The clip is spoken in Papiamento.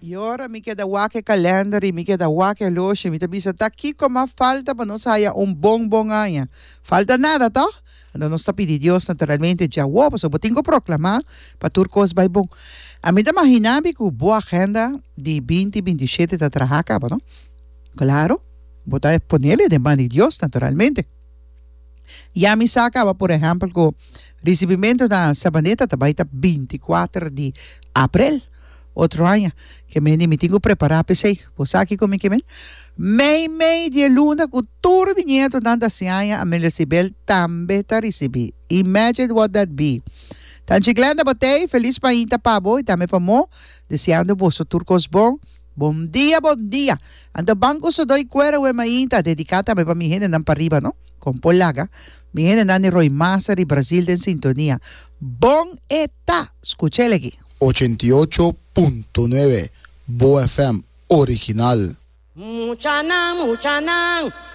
I ora mi keda wak e kalender i mi keda wak e oloshi, mi ta bisa, Ta kiko mas falta pa nos haya un bon bon aña? Falta nada, tòg? Anto nos ta pidi Dios naturalmente djawo, pasobra bo tin ku proklamá pa tur kos bai bon. Ami ta maginá mi ku bo agenda di binti 27 ta traha kaba, no? Klaro, bo ta ponele den man di Dios naturalmente. Ya mi sa kaba por ehèmpel ku risibimentu na Sabaneta ta bai ta 24 di aprel. Otro aña. Ke men di mi tin ku prepará p'esei. Bo sa kiko mi ke men? Mei mei di e luna ku tur mi nietonan ta hasi aña, Amelia Sibel tambe ta risibí. Imagine what that be. Tanchi Glenda bo t'ei, felis mainta pa bo i tambe pa Mo, deseando boso tur kos bon. Bon dia, bon dia. Anto ban ku sodó i kuera we mainta, dediká tambe pa mi hendenan pariba, no? Kon por laga mi hendenan di Roy Maser i Brazil den sintonia. Bon e ta! Skuch'el aki. 88.9 Bo FM original. Muchanan, muchanan.